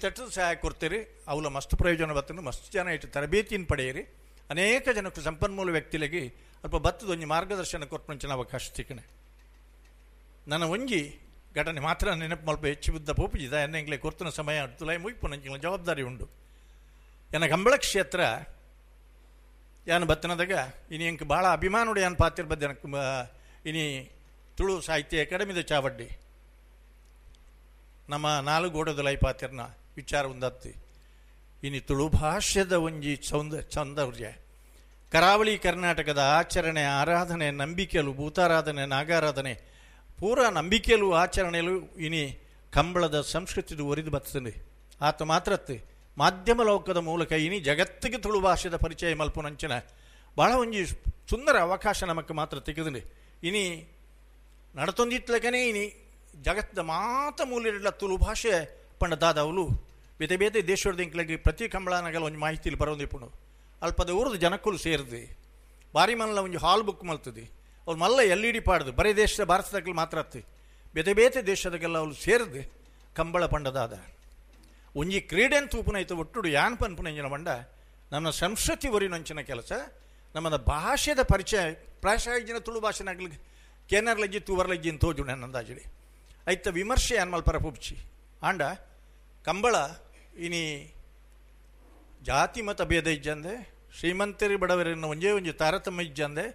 ತಟ್ಟು ಸಹಾಯ ಕೊಡ್ತೀರಿ, ಅವಲ ಮಸ್ತ್ ಪ್ರಯೋಜನ ಬತ್ತನು, ಮಸ್ತ್ ಜನ ಇಟ್ಟು ತರಬೇತಿಯನ್ನು ಪಡೆಯಿರಿ, ಅನೇಕ ಜನಕ್ಕೆ ಸಂಪನ್ಮೂಲ ವ್ಯಕ್ತಿಗಳಿಗೆ ಅಲ್ಪ ಬತ್ತದ ಒಂಜಿ ಮಾರ್ಗದರ್ಶನ ಕೊಟ್ಟಂಚಿನ ಅವಕಾಶ ತಿಕ್ಕಣೆ. ನನ್ನ ಒಂಜಿ ಘಟನೆ ಮಾತ್ರ ನೆನಪು ಮಲ್ಪ ಹೆಚ್ಚು ಬುದ್ಧ ಪೋಪುಜಿದ ಎನ್ನೆಂಗ್ಲೆ ಕೊರ್ತನ ಸಮಯ ತುಲಾಯಿ ಮುಗಿಪು ನಂಚಿನ ಜವಾಬ್ದಾರಿ ಉಂಡು. ಎನ್ನ ಕಂಬಳ ಕ್ಷೇತ್ರ ಯಾನು ಬತ್ತನದಾಗ ಇನಿ ಎಂಕ್ ಭಾಳ ಅಭಿಮಾನುಡು ಯಾನ್ ಪಾತಿರ್ ಬದ್ದೆ ಇನಿ ತುಳು ಸಾಹಿತ್ಯ ಅಕಾಡೆಮಿದ ಚಾವಡ್ಡಿ ನಮ್ಮ ನಾಲು ಗೋಡದ ಪಾತಿರ್ನ ವಿಚಾರ ಒಂದತ್ತಿ. ಇನಿ ತುಳು ಭಾಷ್ಯದ ಒಂಜಿ ಸೌಂದರ್ಯ ಕರಾವಳಿ ಕರ್ನಾಟಕದ ಆಚರಣೆ ಆರಾಧನೆ ನಂಬಿಕೆಯಲು ಭೂತಾರಾಧನೆ ನಾಗಾರಾಧನೆ ಪೂರಾ ನಂಬಿಕೆಯಲು ಆಚರಣೆಯಲು ಇನಿ ಕಂಬಳದ ಸಂಸ್ಕೃತಿದು ಒರಿದು ಬರ್ತದೆ. ಆತ ಮಾತ್ರತ್ತೆ ಮಾಧ್ಯಮ ಲೋಕದ ಮೂಲಕ ಇನಿ ಜಗತ್ತಿಗೆ ತುಳು ಭಾಷೆದ ಪರಿಚಯ ಮಲ್ಪುನಂಚಿನ ಭಾಳ ಒಂಜಿ ಸುಂದರ ಅವಕಾಶ ನಮಕ್ ಮಾತ್ರ ತೆಗೆದುಂಡು. ಇನಿ ನಡತೊಂದಿತ್ಲಕನೇ ಇನಿ ಜಗತ್ತದ ಮಾತ ಮೂಲೆಲ್ಲ ತುಳು ಭಾಷೆ ಪಂಡ ದಾದವಲು ಬೇತೆ ಬೇತೆ ದೇಶದ ಇಂಕ್ಲಗೆ ಪ್ರತಿ ಕಂಬಳನಗಲ ಒಂಜಿ ಮಾಹಿತಿಲಿ ಬರೋಂದಿಪ್ಪುಂಡು. ಅಲ್ಪದ ಊರದ ಜನಕ್ಕಲು ಸೇರಿದೆ ಬಾರಿ ಮಲ್ಲ ಒಂಜಿ ಹಾಲ್ ಬುಕ್ ಮಲ್ತದೆ, ಅವ್ರು ಮಲ್ಲ ಎಲ್ ಇ ಡಿ ಪಾಡ್ದು ಬರೀ ದೇಶದ ಭಾರತದಾಗಲಿ ಮಾತ್ರ ಅತ್ತಿ ಬೇತೆ ಬೇತೆ ದೇಶದಾಗೆಲ್ಲ ಅವ್ರು ಸೇರಿದೆ ಕಂಬಳ ಪಂಡದಾದ ಒಂಜಿ ಕ್ರೀಡೆನ್ ತೂಪುನೈತು ಒಟ್ಟುಡು ಯಾನ್ ಪನ್ಪುನಂಜಿನ ಬಂಡ ನಮ್ಮ ಸಂಸ್ಕೃತಿ ಒರಿನಂಚಿನ ಕೆಲಸ ನಮ್ಮದ ಭಾಷೆದ ಪರಿಚಯ ಪ್ರಾಯಶಃ ಜಿನ ತುಳು ಭಾಷೆನಾಗ್ಲಿ ಕೇನರ್ಲಜ್ಜಿ ತೂವರ್ಲಜ್ಜಿ ಅಂತ ತೋಜು ನನ್ನಂದಾಜಿಡಿ ಐತ ವಿಮರ್ಶೆ ಅನ್ಮಲ್ ಪರಪುಪ್ಚಿ ಆಂಡ ಕಂಬಳ ಇನಿ ಜಾತಿ ಮತ ಭೇದ ಇಜ್ಜಂದೆ ಶ್ರೀಮಂತರಿ ಬಡವರನ್ನು ಒಂಜೇ ಒಂಜಿ ತಾರತಮ್ಯ ಇಜ್ಜಂದೆ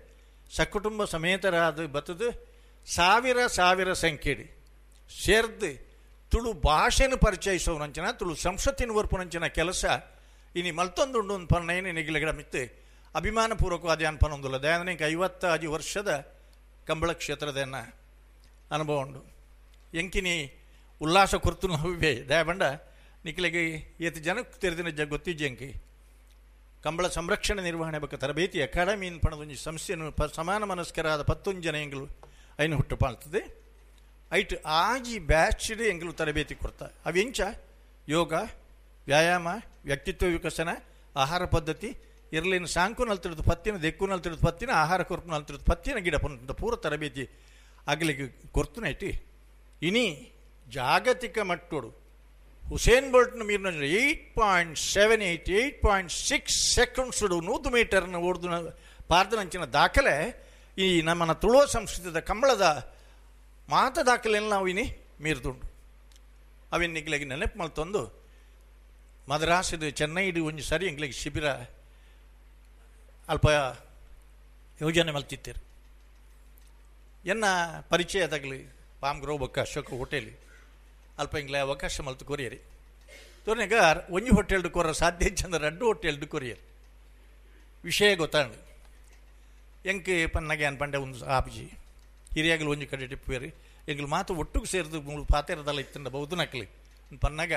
ಸಕುಟುಂಬ ಸಮೇತರಾದ ಬತ್ತದು ಸಾವಿರ ಸಾವಿರ ಸಂಖ್ಯೆಡಿ ಸೇರ್ದು ತುಳು ಭಾಷೆನ ಪರಿಚಯಿಸೋನಂಚಿನ ತುಳು ಸಂಸ್ಕೃತಿನ ವರ್ಪುನಂಚಿನ ಕೆಲಸ ಇನಿ ಮಲ್ತೊಂದುಂಡು ಒಂದು ಪನ್ನ ನಿಗಿಲಗಡ ಮಿತ್ತು ಅಭಿಮಾನಪೂರ್ವಕವಾದ ಅನ್ಪನೊಂದುಲ್ಲ. ದಯಾನಂದ 55 ವರ್ಷದ ಕಂಬಳ ಕ್ಷೇತ್ರದ ಅನುಭವ ಉಂಡು. ಎಂಕಿನಿ ಉಲ್ಲಾಸ ಕುರ್ತು ನೋವೇ ದಯಬಂಡ ನಿಖಿಲಿಗೆ ಏತು ಜನಕ್ಕೆ ತೆರೆದಿನ ಜ ಗೊತ್ತಿಜ್ಜೆ ಎಂಕಿ ಕಂಬಳ ಸಂರಕ್ಷಣೆ ನಿರ್ವಹಣೆ ಬಗ್ಗೆ ತರಬೇತಿ ಅಕಾಡೆಮಿ ಪಣದೊಂಜಿ ಸಂಸ್ಥೆಯನ್ನು ಸಮಾನ ಮನಸ್ಕರಾದ 11 ಜನ ಎಂಗಳು ಐನು ಹುಟ್ಟು ಪಾಲ್ತದೆ. ಐಟ್ ಆಜಿ ಬ್ಯಾಚ್ಡ್ ಎಂಗಳು ತರಬೇತಿ ಕೊಡ್ತಾ ಅವೆಂಚ ಯೋಗ ವ್ಯಾಯಾಮ ವ್ಯಕ್ತಿತ್ವ ವಿಕಸನ ಆಹಾರ ಪದ್ಧತಿ ಇರಲಿನ ಸಾಂಕು ನಲ್ತಿಡ್ದು ಪತ್ತಿನ ದೆಕ್ಕು ನಲ್ತಿಡ್ದು ಪತ್ತಿನ ಆಹಾರ ಕೊರ್ಪು ನಲ್ತಿಡ್ದು ಪತ್ತಿನ ಗಿಡ ಪಂತ ಪೂರ ತರಬೇತಿ ಆಗಲಿಕ್ಕೆ ಕೊರ್ತುನೈಟಿ. ಇನಿ ಜಾಗತಿಕ ಮಟ್ಟೋಡು ಹುಸೇನ್ ಬೋಲ್ಟ್ನ ಮೀರಿನ 8.78 8.6 ಸೆಕೆಂಡ್ಸ್ 100 ಮೀಟರ್ನ ಓಡ್ದು ಪಾರ್ದನಂಚಿನ ದಾಖಲೆ ಈ ನಮ್ಮನ್ನ ತುಳುವ ಸಂಸ್ಕೃತದ ಕಂಬಳದ ಮಾತ ದಾಖಲೆಯನ್ನು ನಾವು ಇನಿ ಮೀರ್ದುಂಡು. ಅವಿನ ನಿಗ್ಲಿಗೆ ನೆನಪು ಮಲ್ತೊಂದು ಮದ್ರಾಸಿದು ಚೆನ್ನೈಡು ಒಂಜಿ ಸರಿ ಎಂಗ್ಲಿಗೆ ಶಿಬಿರ ಅಲ್ಪ ಯೋಜನೆ ಮಲ್ತಿತ್ತೀರಿ. ಎನ್ನ ಪರಿಚಯದಾಗಲಿ ಪಾಮ್ ಗ್ರೋವ್ ಬೊಕ್ಕ ಅಶೋಕ ಹೋಟೆಲ್ ಅಲ್ಪ ಇಂಗ್ಲೆ ಅವಕಾಶ ಮಲ್ತು ಕೊರಿಯರಿ ತೋರ್ನಾಗ ಒಂಜಿ ಹೋಟೆಲ್ ಕೊರ ಸಾಧ್ಯ ಚಂದ್ರ ರಡ್ಡು ಹೋಟೆಲ್ ಕೊರಿಯರ್ ವಿಷಯ ಗೊತ್ತಾಂಡು. ಎಂಕ್ ಪನ್ನಗೆ ಅನ್ಪಂಡೆ ಒಂದು ಆಪ್ಜಿ ಹಿರಿಯಾಗಲು ಒಂಜಿ ಕಡೆ ಟಿಪ್ಪುವೇರಿ ಎಂಗ್ಲು ಮಾತು ಒಟ್ಟುಗೆ ಸೇರಿದು ಮೂಳು ಪಾತೆರದಲ್ಲ ಇತ್ತಂಡ ಬಹುದು ನಕ್ಲಿ ಪನ್ನಾಗ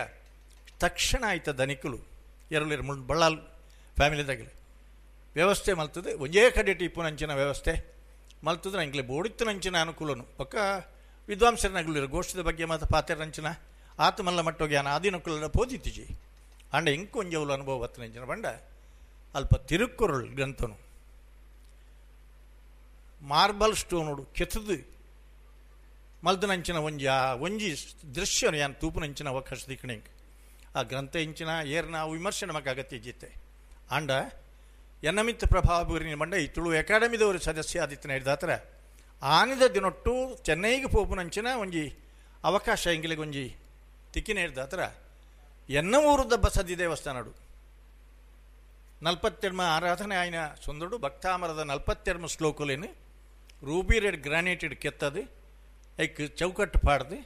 ತಕ್ಷಣ ಆಯ್ತ ದನಿಕುಲು ಎರಳಿರು ಮುಳ್ ಬಳ್ಳಾಲ್ ಫ್ಯಾಮಿಲಿದಾಗಲಿ ವ್ಯವಸ್ಥೆ ಮಲ್ತದೆ ಒಂಜೇ ಕಡೆ ಟಿಪ್ಪುನಂಚಿನ ವ್ಯವಸ್ಥೆ ಮಲ್ತದ್ರೆ ಎಂಕ್ಲೆ ಬೋಡಿತ್ತನಂಚಿನ ಅನುಕೂಲನು ಪಕ್ಕ ವಿದ್ವಾಂಸರನಾಗಲಿರು ಗೋಷ್ಠದ ಬಗ್ಗೆ ಮತ್ತು ಪಾತೆರಂಚಿನ ಆತ ಮಲ್ಲ ಮಟ್ಟೋಗ್ಯಾನ ಆದಿನಕುಲ ಪೋದಿತ್ತಿಜಿ ಅಂಡ ಇಂಕು ಒಂಜವುಲು ಅನುಭವ ಬತ್ತನಂಚಿನ ಬಂಡ ಅಲ್ಪ ತಿರುಕ್ಕುರುಳ್ ಗ್ರಂಥನು ಮಾರ್ಬಲ್ ಸ್ಟೋನುಡು ಕೆತ್ತದು ಮಲ್ದನಂಚಿನ ಒಂಜಿ ಆ ಒಂಜಿ ದೃಶ್ಯನು ಯಾನ್ ತೂಪುನಂಚಿನ ಅವಕಾಶ ದಿಕ್ಕಣೆ ಆ ಗ್ರಂಥ ಇಂಚಿನ ಏರ್ನ ವಿಮರ್ಶೆ ನಮಗೆ ಅಗತ್ಯ ಜಿತ್ತೆ. ಆಂಡ ಎನ್ನಮಿತ್ತ ಪ್ರಭಾವ ಬೀರಿನ ಬಂಡ ಈ ತುಳು ಅಕಾಡೆಮಿದವರು ಸದಸ್ಯ ಆದಿತ್ಯನ ಹಿಡ್ದಾತ್ರ ಆನಿದ ದಿನೊಟ್ಟು ಚೆನ್ನೈಗೆ ಪೋಪುನಂಚಿನ ಒಂಜಿ ಅವಕಾಶ ಎಂಗಿಲಿಗೆ ಒಂಜಿ ತಿಕ್ಕಿನ ಹಿಡ್ದಾತ್ರ ಎನ್ನ ಊರುದ ಬಸದಿ ದೇವಸ್ಥಾನಡು 42 ಆರಾಧನೆ ಆಯ್ನ ಸುಂದರುಡು ಭಕ್ತಾಮರದ 42 ಶ್ಲೋಕುಲೇನು ರೂಬಿ ರೆಡ್ ಗ್ರಾನೈಟೆಡ್ ಕೆತ್ತದು ಐಕ್ ಚೌಕಟ್ಟು ಪಾಡ್ದು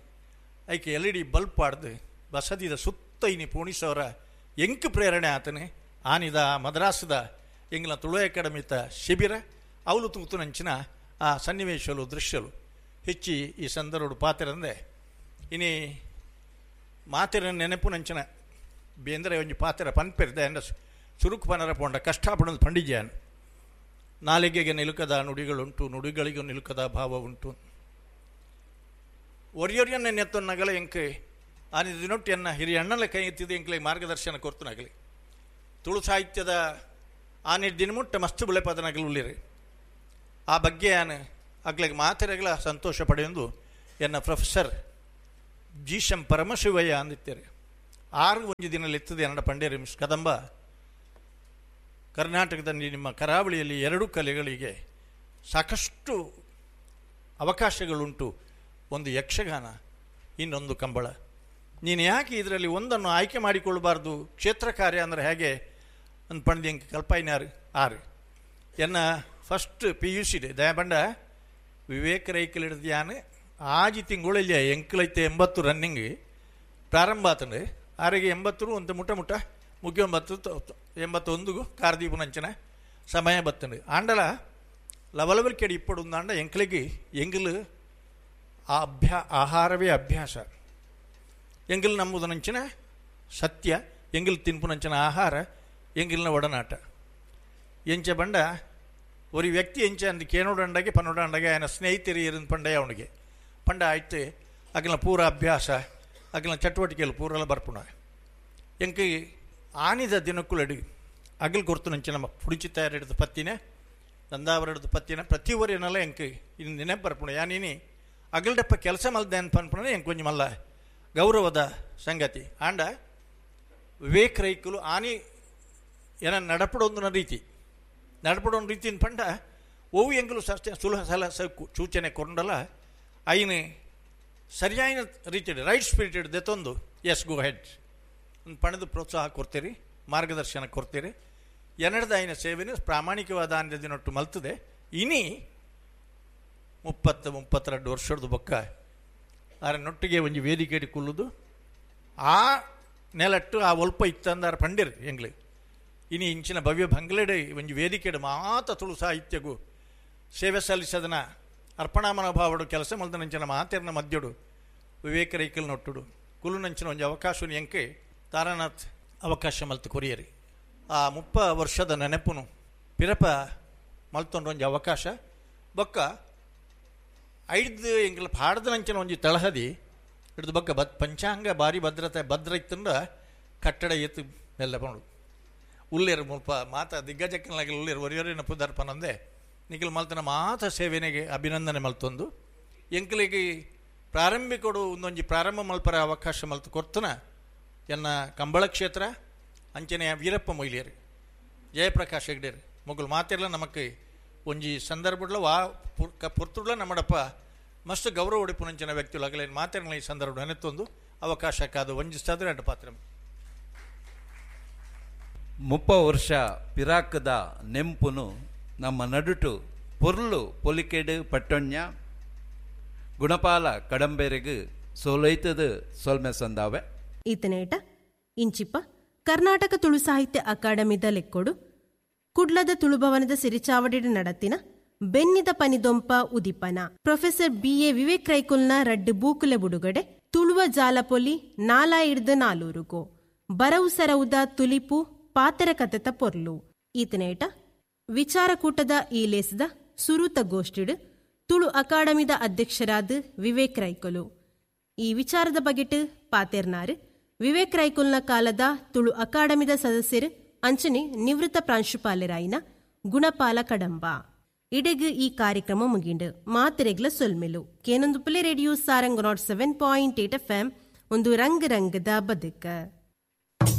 ಐಕ್ ಎಲ್ ಇ ಡಿ ಬಲ್ಬ್ ಪಾಡ್ದು ಬಸದಿದ ಸುತ್ತ ಇನಿ ಪೋಣಿಸವರ ಎಂಕ್ ಪ್ರೇರಣೆ ಆತನೆ ಆನಿದ ಮದ್ರಾಸದ ಎಂಗ್ಲ ತುಳು ಅಕಾಡೆಮಿತ ಶಿಬಿರ ಅವಲು ತೂತುನಂಚಿನ ಆ ಸನ್ನಿವೇಶಲು ದೃಶ್ಯಲು ಹೆಚ್ಚಿ ಈ ಸಂದರ್ಭ ಪಾತಿರಂದೆ ಇನಿ ಮಾತಿರ ನೆನಪುನಂಚಿನ ಬೇಂದ್ರೆ ಒಂಜಿ ಪಾತಿರ ಪನ್ಪೆರ್ದೆ ಅಂಡ ಸುರುಕು ಪನರ ಪೋಂಡ ಕಷ್ಟಪಡೋದು ಪಂಡಿಜಾನ್ ನಾಲಿಗೆಗೆ ನಿಲುಕದ ನುಡಿಗಳುಂಟು ನುಡಿಗಳಿಗೂ ನಿಲುಕದ ಭಾವ ಉಂಟು. ಒರಿಯೊರಿಯನ್ನ ನೆತ್ತೊನ್ನಗಲ ಎಂಕ್ ಆನಿ ದಿನೊಟ್ಟಿಯನ್ನ ಹಿರಿಯ ಅಣ್ಣನ ಕೈ ಎತ್ತಿದ್ದು ಎಂಕ್ಲೆ ಮಾರ್ಗದರ್ಶನ ಕೊರ್ತುನಗಲಿ ತುಳು ಸಾಹಿತ್ಯದ ಆನಿ ದಿನಮುಟ್ಟ ಮಸ್ತು ಬುಳೆಪದನಗಲು ಉಳ್ಳಿರಿ ಆ ಬಗ್ಗೆ ಆನೆ ಅಗ್ಲಿಗೆ ಮಾತಿರಗಲ ಸಂತೋಷ ಪಡೆಯೊಂದು ಎನ್ನ ಪ್ರೊಫೆಸರ್ ಜಿ ಶಂ ಪರಮಶಿವಯ್ಯ ಅಂದಿತ್ತಾರೆ. ಆರು ಒಂಜಿ ದಿನ ಲೆತ್ತದೆ ಅನ್ನಡ ಪಂಡೇರಿ ಮಿಸ್ ಕದಂಬ, ಕರ್ನಾಟಕದಲ್ಲಿ ನಿಮ್ಮ ಕರಾವಳಿಯಲ್ಲಿ ಎರಡು ಕಲೆಗಳಿಗೆ ಸಾಕಷ್ಟು ಅವಕಾಶಗಳುಂಟು, ಒಂದು ಯಕ್ಷಗಾನ, ಇನ್ನೊಂದು ಕಂಬಳ. ನೀನು ಯಾಕೆ ಇದರಲ್ಲಿ ಒಂದನ್ನು ಆಯ್ಕೆ ಮಾಡಿಕೊಳ್ಳಬಾರ್ದು? ಕ್ಷೇತ್ರ ಕಾರ್ಯ ಅಂದರೆ ಹೇಗೆ ಒಂದು ಪಂಡಿ ಅಂಕ ಕಲ್ಪಾಯಿನಾರು ಆರು ಎನ್ನ ಫಸ್ಟ್ PUC ದಯಬಂಡ ವಿವೇಕ ರೈಕಲ್ ಹಿಡಿದು ಆಜಿ ತಿಂಗಳಲ್ಲಿ ಎಂಕಲೈತೆ 80 ರನ್ನಿಂಗ್ ಪ್ರಾರಂಭ ಆತಂಡು. ಆರಿಗೆ 80 ಒಂದು ಮುಟ್ಟ ಮುಟ್ಟ ಮುಗಿಯೊಂಬತ್ತು 81 ಕಾರ್ದೀಪುನಂಚನ ಸಮಯ ಬತ್ತಂಡು. ಆಂಡಲ ಲವಲವಲ್ ಕೆಡಿ ಇಪ್ಪಡು ಅಂಡ ಎಂಕಲಿಗೆ ಎಂಗಲು ಆ ಆಹಾರವೇ ಅಭ್ಯಾಸ. ಎಂಗಲ್ ನಂಬುದನಂಚಿನ ಸತ್ಯ, ಎಂಗಲ್ ತಿನ್ಪುನಂಚಿನ ಆಹಾರ, ಎಂಗಿಲ್ನ ಒಡನಾಟ. ಎಂಚ ಬಂಡ ஒரு ವ್ಯಕ್ತಿ ಎಂಚ ಅಂದು ಕೇನೋಡಂಡಗೆ ಪನ್ನೋಡಂಡಗೆ ఆయన ಸ್ನೇಹಿತರು ಇருந்து ಪಂಡಯ್ಯ ಅವನಿಗೆ ಪಂಡ ಆಯ್ತು. ಅಗಲ ಪೂರ ಅಭ್ಯಾಸ ಅಗಲ ಚಟುವಟಿಕೆಗಳು ಪೂರೆಲ್ಲ ಬರ್ಪುಣ. ಎಂಕ್ ಆನಿದ ದಿನಕ್ಕುಲಡಿ ಅಗಲ್ ಕೊರ್ತು ನಂಚಿನ ಪುಡಿಚಿ ತಯಾರಿಡ್ದು ಪತ್ತಿನ ನಂದಾವರ ಹಿಡ್ದು ಪತ್ತಿನ ಪ್ರತಿ ಊರಿನಲ್ಲ ಎಂಕ್ ಇನ್ನು ನೆನಪು ಬರ್ಪುಣ. ಯಾನೀನಿ ಅಗಲ್ಡಪ್ಪ ಕೆಲಸ ಮಲ್ದೆ ಅನ್ಪನ್ಪುಣ ಎಂಕ್ ಕೊಂಚ ಮಲ್ಲ ಗೌರವದ ಸಂಗತಿ. ಆಂಡ ವಿವೇಕ್ ರೈಕುಲು ಆನಿ ಏನ ನಡಪಡೊಂದಿನ ರೀತಿ ನಡಪಡೊಂದು ರೀತಿನ ಪಂಡ ಒವು ಎಂಕಲು ಸುಲಭ ಸಲ ಸೂಚನೆ ಕೊಂಡಲ್ಲ ಐನು ಸರಿಯಾದ ರೀತಿ right spirited ದೆತ್ತೊಂದು yes go head ಒಂದು ಪಣದ ಪ್ರೋತ್ಸಾಹ ಕೊಡ್ತೀರಿ, ಮಾರ್ಗದರ್ಶನ ಕೊಡ್ತೀರಿ. ಎನ್ನಡದ ಐನ ಸೇವೆನ ಪ್ರಾಮಾಣಿಕವಾದ ಅಂದಿನೊಟ್ಟು ಮಲ್ತದೆ. ಇನಿ 30 32 ವರ್ಷದ ಬೊಕ್ಕ ಆರ ನೊಟ್ಟಿಗೆ ಒಂಜಿ ವೇದಿಕೆ ಕುಲ್ಲುದು ಆ ನೆಲಟ್ಟು ಆ ಒಲ್ಪ ಇತ್ತಂದಾರ ಪಂಡಿರು ಎಂಗ್ಲಿ. ಇನಿ ಇಂಚಿನ ಭವ್ಯ ಬಂಗ್ಲೆಡೆ ಒಂಜಿ ವೇದಿಕೆಡು ಮಾತ ತುಳು ಸಾಹಿತ್ಯಗೂ ಸೇವೆ ಸಲ್ಲಿಸದನ ಅರ್ಪಣಾ ಮನೋಭಾವಡು ಕೆಲಸ ಮಲ್ದನಂಚಿನ ಮಾತೆರ್ನ ಮಧ್ಯಡು ವಿವೇಕ ರೈಕಲ್ ನೊಟ್ಟುಡು ಕುಲುನಂಚಿನ ಒಂಜಿ ಅವಕಾಶ ಎಂಕೆ ತಾರಾನಾಥ್ ಅವಕಾಶ ಮಲ್ತು ಕೊರಿಯರಿ. ಆ 30 ವರ್ಷದ ನೆನಪುನು ಪಿರಪ ಮಲ್ತೊಂಡು ಒಂಜಿ ಅವಕಾಶ ಬೊಕ್ಕ ಐದು ಎಂಕಲ್ ಪಾಡ್ದನಂಚಿನ ಒಂಜಿ ತಳಹದಿ ಹಿಡಿದು ಬೊಕ್ಕ ಪಂಚಾಂಗ ಭಾರಿ ಭದ್ರತೆ ಭದ್ರ ಇತ್ತಂದ ಕಟ್ಟಡ ಎತ್ತು ಮೆಲ್ಲ ಪಂಡು ಉಲ್ಲೇರು ಮುಲ್ಪ ಮಾತ ದಿಗ್ಗಜಕ್ಕನಾಗಿ ಉಲ್ಲೇರು ಒರಿಯೊರಿನ ಪುದರ್ಪನಂದೆ ನಿಖಿಲ್ ಮಲ್ತನ ಮಾತ ಸೇವೆನೆಗೆ ಅಭಿನಂದನೆ ಮಲ್ತೊಂದು ಎಂಕಲಿಗೆ ಪ್ರಾರಂಭಿಕೊಡು ಒಂದೊಂಜಿ ಪ್ರಾರಂಭ ಮಲ್ಪರ ಅವಕಾಶ ಮಲ್ತು ಕೊರ್ತನ ಎನ್ನ ಕಂಬಳ ಕ್ಷೇತ್ರ ಅಂಚನೆಯ ವೀರಪ್ಪ ಮೊಯ್ಲಿಯರು ಜಯಪ್ರಕಾಶ್ ಹೆಗ್ಡೇರು ಮೊಗಲು ಮಾತಿರಲ್ಲ ನಮಕ್ ಒಂಜಿ ಸಂದರ್ಭಡ್ಲ ವಾ ಪುರ್ತುಡ್ಲ ನಮ್ಮಡಪ್ಪ ಮಸ್ತ್ ಗೌರವ ಉಡಿಪುನಂಚಿನ ವ್ಯಕ್ತಿಗಳು ಅಗಲೇನು ಮಾತಿರಲ್ಲ ಈ ಸಂದರ್ಭ ನೆನೆತ್ತೊಂದು ಅವಕಾಶಕ್ಕಾದ ಒಂಜಿ ಸದರ ಪಾತ್ರ. 30 ವರ್ಷ ಪಿರಾಕದ ನೆಂಪುನು ನಮ್ಮ ನಡುಟು ಪೊರ್ಲು ಪೊಲಿಕೆಡು ಪಟ್ಟೊಣ್ಯ ಗುಣಪಾಲ ಕಡಂಬೇರೆಗು ಸೋಲೈತದ ಸೊಲ್ಮೆ ಸಂದಾವೆ. ಈತನೇಟ ಇಂಚಿಪ್ಪ ಕರ್ನಾಟಕ ತುಳು ಸಾಹಿತ್ಯ ಅಕಾಡೆಮಿದ ಲೆಕ್ಕೊಡು ಕುಡ್ಲದ ತುಳುಭವನದ ಸಿರಿಚಾವಡಿಡ ನಡತಿನ ಬೆನ್ನಿದ ಪನಿದೊಂಪ ಉದಿಪನ ಪ್ರೊಫೆಸರ್ BA Vivek ರೈಕುಲ್ನ ರಡ್ಡು ಬೂಕುಲೆ ಬುಡುಗಡೆ ತುಳುವ ಜಾಲಪೊಲಿ ನಾಲಾಯಿಡ್ದ ನಾಲೂರುಗೋ ಬರವು ಸರವುದ ತುಲಿಪು ಪಾತರ ಕತೆತ ಪೊರ್ಲು. ಈತನೇಟ ವಿಚಾರಕೂಟದ ಈ ಲೇಸದ ಸುರೂತ ಗೋಷ್ಠಿಡು ತುಳು ಅಕಾಡೆಮಿದ ಅಧ್ಯಕ್ಷರಾದ ವಿವೇಕ್ ರೈಕುಲು ಈ ವಿಚಾರದ ಬಗೆಟ್ ಪಾತೆರ್ನಾರು ವಿವೇಕ್ ರೈಕುಲ್ನ ಕಾಲದ ತುಳು ಅಕಾಡೆಮಿದ ಸದಸ್ಯರು ಅಂಚನೆ ನಿವೃತ್ತ ಪ್ರಾಂಶುಪಾಲರಾಯಿನ ಗುಣಪಾಲ ಕಡಂಬ. ಇಡೆಗ್ ಈ ಕಾರ್ಯಕ್ರಮ ಮುಗಿಂಡು ಮಾತೆರೆಗ್ಲ ಸೊಲ್ಮೆಲು. ಕೇನೊಂದು ಪುಲೆ ರೇಡಿಯೋ ಸಾರಂಗ್ 107.8 FM ಒಂದು ರಂಗ್ ರಂಗದ ಬದುಕ.